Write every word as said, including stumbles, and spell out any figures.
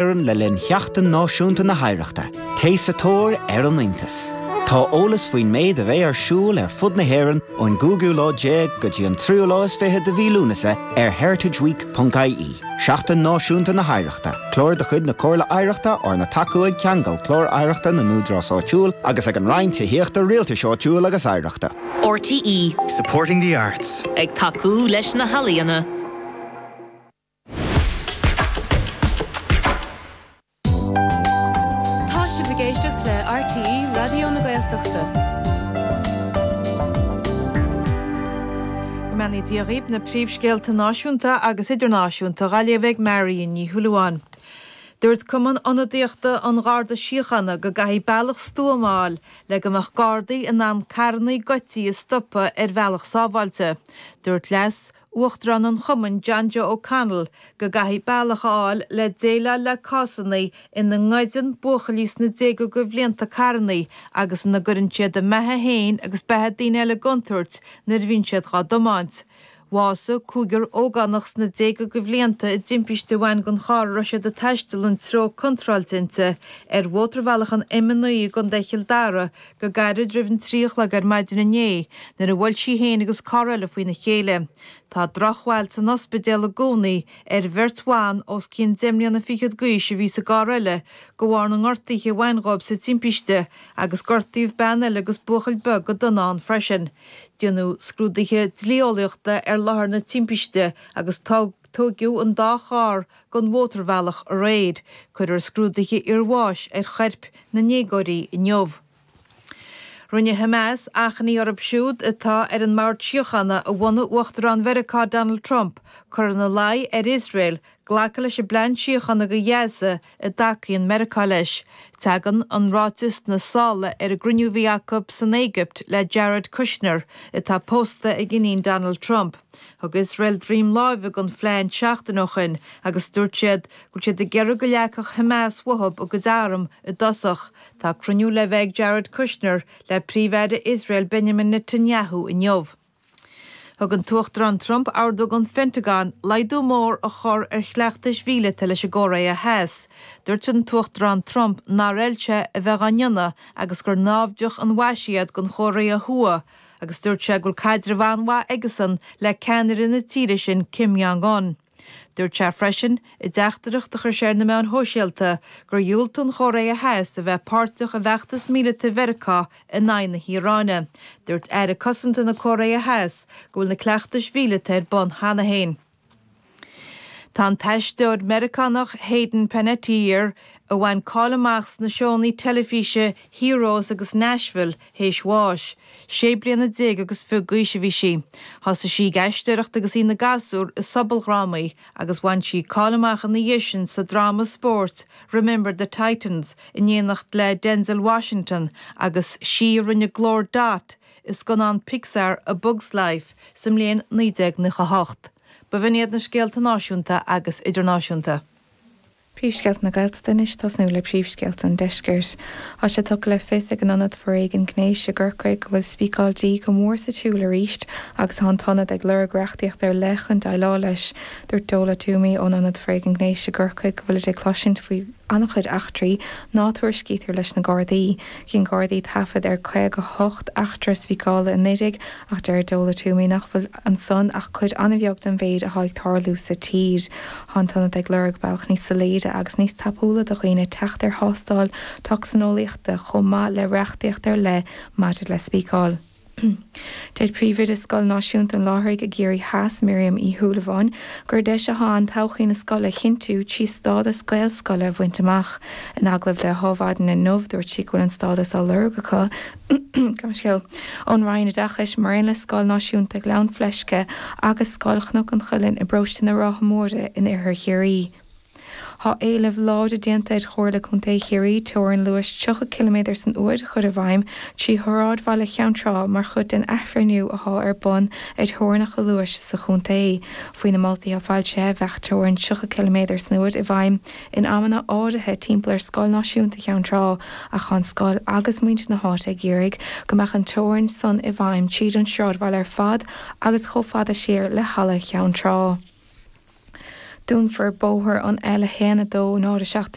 hÉireann le linn Sheachtain Náisiúnta na hOidhreachta, Téigh sa tóir ar an iontas. Tá eolas faoin méid a bheidh ar siúl ar fud na hÉireann ón gcúigiú lá déag go dtí an tríú lá is fiche de mhí Lúnasa ar heritageweek.ie. Seachtain Náisiúnta na hOidhreachta, Clár de chuid na Comhairle Oidhreachta arna thacú ag Ceangal Clár Oidhreachta na nÚdarás Áitiúil agus ag an Roinn Tithíochta Rialtais Áitiúil agus Oidhreachta. RTÉ Supporting the arts. Ag tacú leis na healaíona. Tá sibh ag éisteacht le RTÉ Raidió na Gaeltachta. Go mbeannaí Dia dhaoibh na príomhscéalta náisiúnta agus idirnáisiúnta á léamh ag Marion Ní Shúilleabháin. Dúirt Cumann Ionadaíochta an Gharda Síochána go gcaithfidh bealach stuama a fháil le go mbeadh gardaí in ann carranna goidte a stopadh ar bhealach sábháilte. Dúirt leas Uachtarán an Chumainn John Joe O'Connell go gcaithfidh bealach a fháil le déileáil le cásanna ina ngoideann buachaillí sna déaga de bhlianta carranna agus ina gcuireann siad a mbeatha féin agus beatha daoine eile i gcontúirt nuair a bhíonn siad á dtiomáint. Bhásaigh cúigear ógánach sna déaga de bhlianta i dtimpiste a bhain den charr a raibh siad ag taisteal an treo contráilte inti ar mhótarbhealach an M naoi i gContae Chill Dara go gairid roimh an trí a chlog ar maidin inné nuair a bhuail sí féin agus carr eile faoina chéile. Tá drochbhail san ospidéal i gcónaí ar bheirt bhan os cionn deich mbliana fichead d'aois a bhí sa gcarr eile de bharr na ngortuithe a bhain dóibh sa timpiste agus gortaíodh bean eile agus buachaill beag go dona ann freisin. Déanadh scrúduithe dlí-eolaíochta ar láthair na timpiste agus tógadh an dá charr den mhótarbhealach aréir. Cuirfear scrúduithe iarbháis ar choirp na ndéagóirí inniu. Rinne Hamas achainí orthu siúd atá ar an mbord síochána a bhunaigh Uachtarán Mheiriceá Donald Trump cur ina luí ar Iosrael glacadh leis an bplean síochána do Ghaza a dtacaíonn Meiriceá leis. Tagann an ráiteas sna sála ar an gcruinniú a bhí acu san Éigipt le Jared Kushner atá pósta ag iníon Donald Trump. Thug Iosrael droim láimhe don phlean seachtain ó shin agus dúirt siad go bhfuil siad ag iarraidh go leagfadh Hamas uathu a gcuid arm i dtosach. Tá cruinniú le bheith ag Jared Kushner le príomh-aire Iosrael Benjamin Netanyahu inniu. Thug an tUachtarán Trump ordú don Phentagon laghdú mór a chur ar chleachtais mhíleata leis an gCóiré Theas. Dúirt an tUachtarán Trump nár fheil sé a bheith á ndéanamh agus gur naimhdeach an mhaise iad don Chóiré Thuaidh, agus dúirt sé go bhfuil caidreamh an-mhaith aigesan le ceannaire na tíre sin Kim Jong-un. Dúirt sé freisin i dteachtaireacht a chuir sé ar na meáin shóisialta gur dhiúltaigh an Chóiré Theas a bheith páirteach i bhfeachtas míleata Mheiriceá in aghaidh na hIaráine. Dúirt Aire Cosanta na Cóiré Theas go bhfuil na cleachtais mhíleata ar bun cheana féin. Tá an t-aisteoir Meiriceánach Hayden Panettiere a bhain cáil amach sna seónna teilifíse Heroes agus Nashville théis bháis. Sé bliana déag agus fiche d'aois a bhí sí. Thosaigh sí ag aisteoireacht agus í ina gasúr i sobaldrámaí agus bhain sí cáil amach ina dhiaidh sin sa dráma spóirt Remember the Titans in éineacht le Denzel Washington agus sí a rinne glór Dot i scannán Pixar A Bug's Life sa mbliain naoi déag nócha hocht. B'in iad na scéalta náisiúnta agus idirnáisiúnta. Príomhscéalta na Gaeltachta anois tosnú le príomhscéalta an deiscirt. Tá sé tugtha le fios ag an Ionad Foréigin Gnéis i gCorcaigh go bhfuil spíceáil dí go mór sa tsiúl arís agus tá an t-ionad ag lorg reachtaíocht ar leith chun déileáil leis. Dúirt Dola Toomey ón Ionad Foréigin Gnéis i gCorcaigh go bhfuil ag cloisint faoi an-chuid eachtraí ná tuairiscítear leis na Gardaí. Chinn Gardaí taifead ar caoga hocht eachtra spíceála anuraidh ach deir Dola Toomey nach bhfuil ansan ach cuid an-bheag den mhéid atá ag tarlú sa tír. Tá an t-ionad ag lorg bealach níos soiléire agus níos tapúla do dhaoine teacht ar thástáil tocsaineolaíochta chomh maith le reachtaíocht ar leith maidir le spíceáil. Deir Príomhoide Scoil Náisiúnta an Láithrigh i gCiarraí Theas Miriam Uí Shúilleabháin gur deis atá ann todhchaí na scoile a chinntiú trí stádas Gaelscoile a bhaint amach. In agallamh le hAdhmhaidin inniu dúirt sí go bhfuil an stádas á lorg acu ón Roinn Oideachais mar aon le Scoil Náisiúnta Ghleann Fleisce agus Scoil Chnoc an Chuilinn i bparóiste na Rátha Móire in Oirthear Chiarraí. Tá éileamh láidir déanta ar Chomhairle Contae Chiarraí teorainn luais tríocha ciliméadar san uair a chur i bhfeidhm trí shráidbhaile Cheann Trá mar chuid den athbhreithniú atá ar bun ar theorainneacha luais sa chontae. Faoi na moltaí atá foilsithe bheadh teorainn tríocha ciliméadar san uair i bhfeidhm in amanna áirithe timpeall ar Scoil Náisiúnta Cheann Trá ach tá an scoil agus muintir na háite ag iarraidh go mbeadh an teorainn san i bhfeidhm tríd an sráidbhaile ar fad agus chomh fada siar le Halla Cheann Trá. Dúnfar bóthar an L a haon a dó náid a seacht